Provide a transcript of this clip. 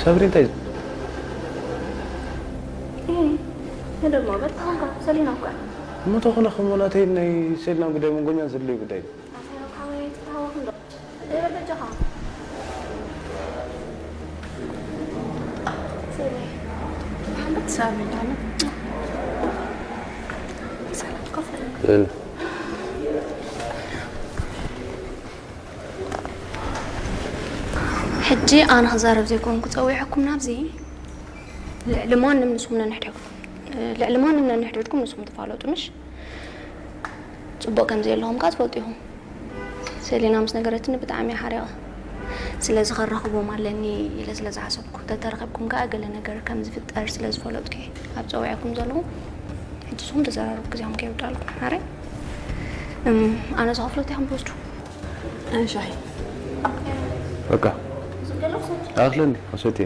ሳብሪ እንታይ እዩ? ይሄ ደግሞ በጣም ሰሊና እኮ እሞ ተኾነ ከሞ ናተይ ናይ ሴልና ጉዳይ መንጎኛ ዘድልዩ ጉዳይ እዩ። ኣሳይሮ ካወይ ትታወቅ እንዶ ይበል በጃኻ። ሰሊ ሓንበት ሳብሪ እንዳለ ሰላም ኮፍ በል። እል ሕጂ ኣነ ክዛረብ ዘይኮንኩ ጸዊዐኩም ናብዚ። ልዕሊ ማንም ንስኹም ነንሕድሕድኩም ልዕሊ ማንም ነንሕድሕድኩም ንስኹም ትፋለጡ ምሽ? ጽቡቕ ከም ዘየለኹም ከኣ ትፈልጡ ኢኹም። ሰሊና ምስ ነገረትኒ ብጣዕሚ እየ ሓሪቐ። ስለዚ ከራኽቦም ኣለኒ ኢለ ስለ ዝሓሰብኩ፣ ተተረኺብኩም ከኣ ገለ ነገር ከም ዝፍጠር ስለ ዝፈለጥኩ እየ ኣብ ጸዊዐኩም ዘለኹ። ሕጂ ንስኹም ተዘራረቡ፣ ግዜኹም ከይውዳልኩም። ኣረ ኣነ ዝኸፍሎ እንታይ ከም ዝወስዱ ሻሂ በቃ ኣኽለኒ ኣሰትየ